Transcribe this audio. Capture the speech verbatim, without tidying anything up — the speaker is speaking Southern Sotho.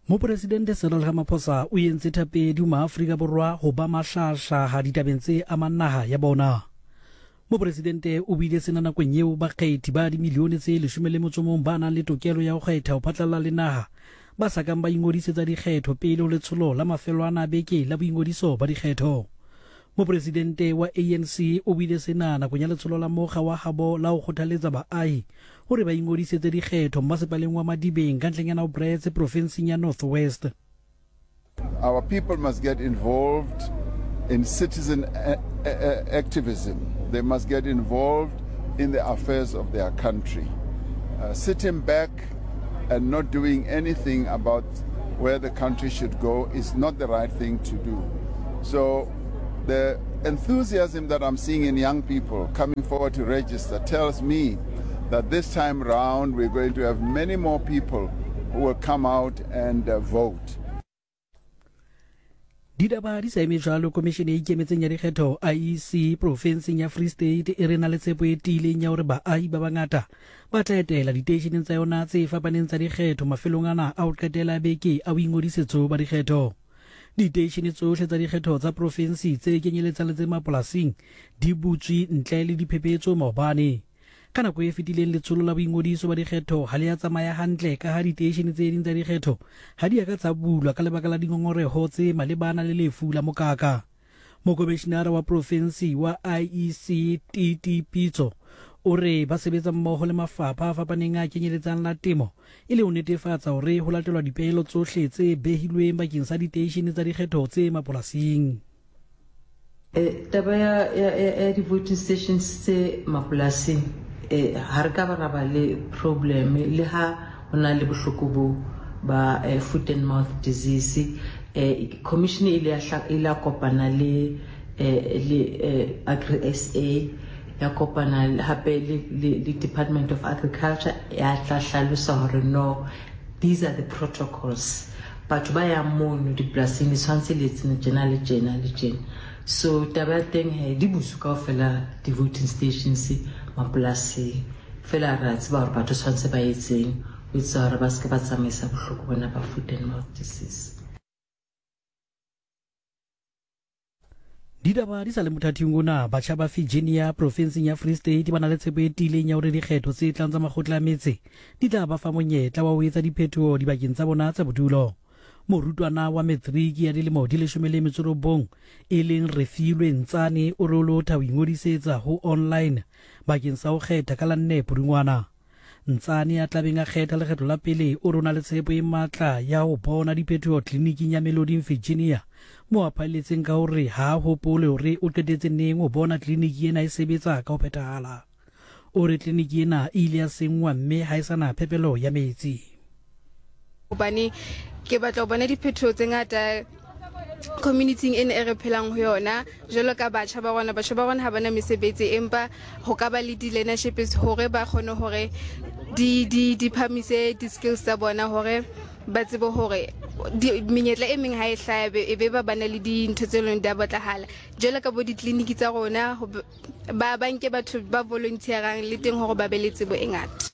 Mopresidente Cyril Ramaphosa o entse thapedi ho maAfrika Borwa ho ba mahlahlaha ditabeng tse amang naha ya bona. Mopresidente o buile sena nakong eo bakgethi ba dimilione tse leshome le motso mong ba nang le tokelo ya ho kgetha ho phatlalla le naha ba sa kang ba ingodisetsa dikgetho pele ho letsholo la mafelo ana a beke la boingodiso ba dikgetho. Mopresidente wa A N C o buile sena nakong ya letsholo la mokga wa habo la ho kgothaletsa baahi hore ba ingodisetse dikgetho mmasepaleng wa Madibeng ka ntleng ya Naubretz profinseng ya North West. Our people must get involved in citizen activism. They must get involved in the affairs of their country. Uh, sitting back and not doing anything about where the country should go is not the right thing to do. So the enthusiasm that I'm seeing in young people coming forward to register tells me that this time round we're going to have many more people who will come out and uh, vote. Ditaba di sa eme jwalo, komishene e ikemetseng ya dikgetho I E C profenseng ya Free State e re na le tshepo e tiileng ya hore baahi ba bangata ba tla etela diteisheneng tsa yona tse fapaneng tsa dikgetho mafelong ana a ho qetela beke a boingodisetso ba dikgetho. Diteishene tsohle tsa dikgetho tsa profensi tse kenyeletsang le tse mapolasing di butswe ntle le diphephetso maobane. Ka nako e fetileng letsholo la boingodiso ba dikgetho ha le a tsamaya hantle ka ha diteishene tse ding tsa dikgetho ha di a ka tsa bulwa ka lebaka la dingongoreho tse malebana le lefu la mokaka. Mokomishinara wa profensi wa I E C T T Pitso o re ba sebetsa mmoho le mafapha a fapaneng a kenyeletsang la temo e le ho netefatsa hore ho latelwa dipehelo tsohle tse behilweng bakeng sa diteishene tsa dikgetho tse mapolasing. Eh, taba ya, ya, ya di-voting stations tse mapolasing eh, ha re ka ba ra ba le problem le ha ho na le bohloko bo ba eh, foot and mouth disease. Eh, commission e ile ya ile kopana le eh, le eh, Agri S A ya kopana hape le, le, le Department of Agriculture ya tla hlalosa hore no, these are the protocols. Batho ba yang mono dipolasing di tshwanetse le etse tjena le tjena le tjena. So taba ya teng he di butswe kaofela di-voting stations mapolasing. Fela re a tseba hore batho tshwanetse ba etseng ho etsa hore ba se ke ba tsamaisa bohloko bona ba foot and mouth disease. Ditaba di sa le mothating ona, batjha ba Virginia profenseng ya Free State ba na le tshepo e tiileng ya hore dikgetho tse tlang tsa makgotla a metse di tla ba fa monyetla wa ho etsa diphetoho dibakeng tsa bona tsa bodulo. Morutwana wa matriki ya dilemo di leshome le metso robong e leng Refilwe Ntsane o re o lotha ho ingodisetsa ho online bakeng sa ho kgetha ka la nne Pudungwana. Ntsane ya tlabeng a kgetha lekgetho la pele o re o na le tshepo e matla ya ho bona diphetoho tleliniking ya Meloding Virginia, mo a phaelletseng ka hore ha a hopole hore o qetetse neng ho bona tleliniki ena e sebetsa ka ho phethahala. O re tleliniki ena e ile ya senngwa mme ha e sa na phepelo ya metsi. Hobane ke batla ho bona diphetoho tse ngata community ena e re phelang ho yona jwalo ka batjha ba rona. Batjha ba rona ha bana mesebetsi, empa ho ka ba le di-learnerships hore ba kgone hore di di di phamise di-skills tsa bona hore ba tsebe hore menyetla e meng ha e hlaha e be ba bana le dintho tse leng di a batlahala. Jwalo ka bo ditleliniki tsa rona ba ba nke batho ba volunteerang le teng hore ba be le tsebo e ngata.